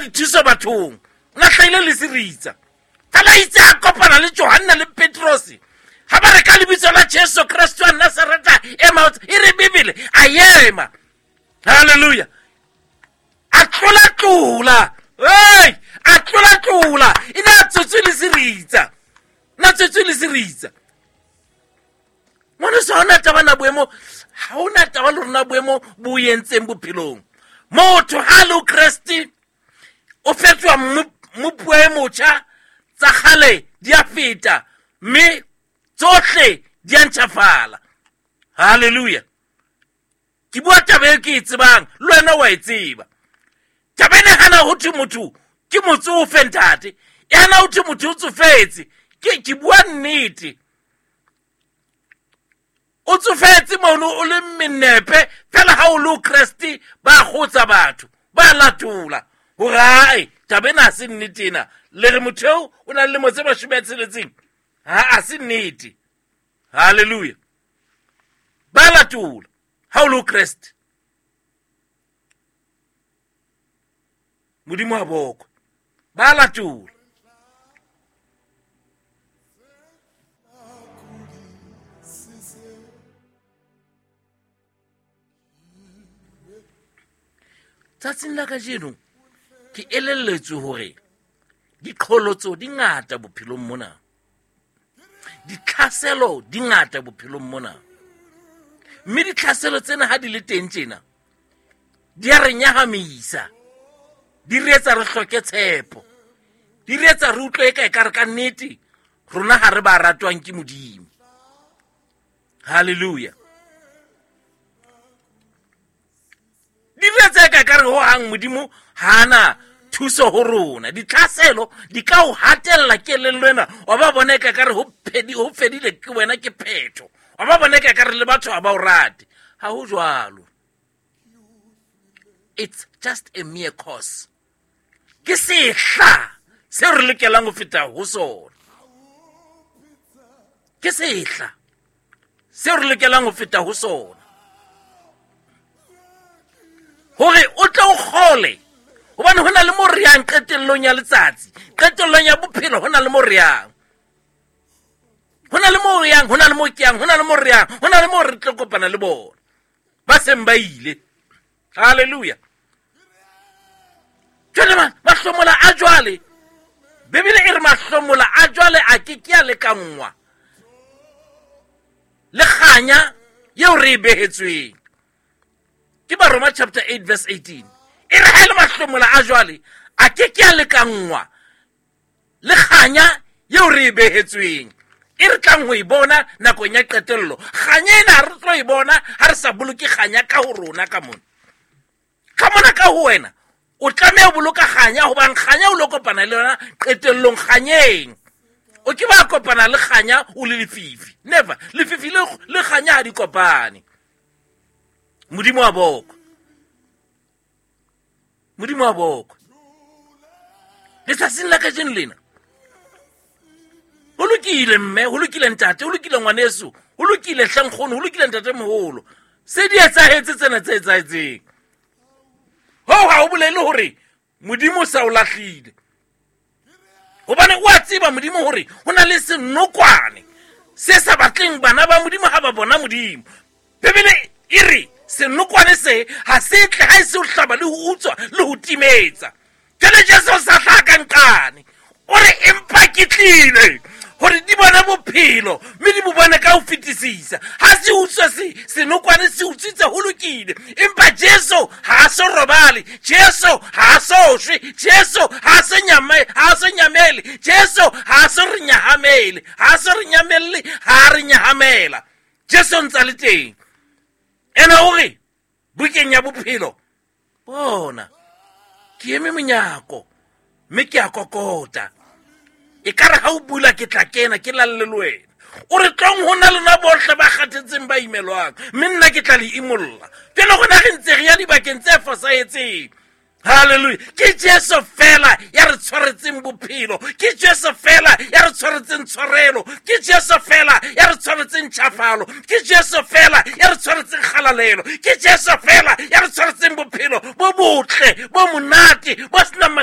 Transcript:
dithuso bathong, o na hlahile le seritsa. Fela itse a kopana le Johanna le Petrose, ha ba re ka lebitso la Jesu Kreste wa Nazareta ema, e re Bibele a ema. Halleluja. A tlola-tlola, ei, a tlola-tlola, e ne a tswetswe le seritsa, na tswetswe le seritsa. Ngwaneso, ha ona taba na boemo, ha ona taba le rona boemo bo entseng bophelong. Motho ha le Kreste o fetoha mmopuwa e motjha, tsa kgale di a feta mme tsohle di a ntjhafala. Halleluja. Ke bua taba e ke e tsebang, le wena wa e tseba. Taba ena hana ho thwe motho ke motsofe ntate, e hana ho thwe motho o tsofetse. Ke bua nnete. O tsofetse mono o le menepe, fela ha o le o Kreste ba kgotsa batho, ba latola hore ae taba ena ha se nnete ena. Le re motho eo o na le lemo tse 60, ha a se nnete. Halleluja. Ba latola ha o le o Kreste. Modimo a bokwe. Ba latola. Tsatsing la kajeno ke elelletswe hore diqholotso di ngata bophelong mona, ditlhaselo di ngata bophelong mona, mme ditlhaselo tsena ha di le teng tjena di a re nyahamisa, di re etsa re hloke tshepo, di re etsa re utlwe eka ekare ka nnete rona ha re ba ratwang ke Modimo. Halleluja. Di re etsa eka ekare ho hang Modimo ha ana thuso ho rona. Ditlhaselo di ka o hatella kelello ena, wa ba bona eka ekare ho fedile ke wena ke phetho, wa ba bona eka ekare le batho ha ba o rate. Ha ho jwalo. It's just a mere cause. Ke sehla seo re lokelang ho feta ho sona. Ke sehla seo re lokelang ho feta ho sona. Hore o tle o kgole, hobane ho na le mo re yang qetellong ya letsatsi, qetellong ya bophelo, ho na le mo re yang. Ho na le mo re yang, ho na le mo ke yang, ho na le mo re yang, ho na le mo re tlo kopana le bona ba seng ba ile. Halleluja. Jwale mahlomola a jwale, Bibele e re mahlomola a jwale a ke ke a lekanngwa le kganya eo re e behetsweng. Ke Baroma chapter 8 verse 18. E re ha e le mahlomola a jwale a ke ke a lekanngwa le kganya eo re e behetsweng, e re tlang ho e bona nakong ya qetello. Kganya ena ha re tlo e bona ha re sa boloke kganya ka ho rona ka mona. Ka mona ka ho wena o tlameha ho boloka kganya, hobane kganya o lo kopana le yona qetellong kganyeng. O ke ba kopana le kganya o le lefifi. Never. Lefifi le kganya ha di kopane. Modimo wa bokwe. Modimo wa bokwe. Letsatsing la kajeno lena, ho lokile mme, ho lokile ntate, ho lokile ngwaneso, ho lokile hlankgono, ho lokile ntate moholo. Se di etsahetse tsena tse etsahetseng. Hoo ha ho bolele hore Modimo o sa o lahlile. Hobane o a tseba Modimo hore ho na le senokwane se sa batleng bana ba Modimo ha ba bona Modimo. Bibele e re senokwane se ha se tle ha e se ho hlaba le ho utswa le ho timetsa. Jwale Jesu o sa hlaha ka nqane. O re empa ke tlile hore di bone bophelo mme di bo bone ka ho fetisisa. Ha se utswa senokwane se utswitse ho lokile, empa Jesu ha a so robale, Jesu ha a so shwe, Jesu ha a so nyame, ha a so nyamele, Jesu ha a so re nyahamele, ha a so re nyamelle, ha a re nyahamela. Jesu o ntse a le teng. Ena o re bukeng ya bophelo, bona ke eme monyako mme ke a kokota, e ka re ha o bula ke tla kena ke lalle le wena. O re tlong ho na lona bohle ba kgathetseng ba imelwang, mme nna ke tla le imolla. Jwale rona re ntse re ya dibakeng tse fosahetseng. Halleluja. Ke Jesu fela ya re tshwaretseng bophelo, ke Jesu fela ya re tshwaretseng tshwarelo, ke Jesu fela ya re tshwaretseng tjhafalo, ke Jesu fela ya re tshwaretseng kgalalelo, ke Jesu fela ya re tshwaretseng bophelo bo botle, bo monate, bo senang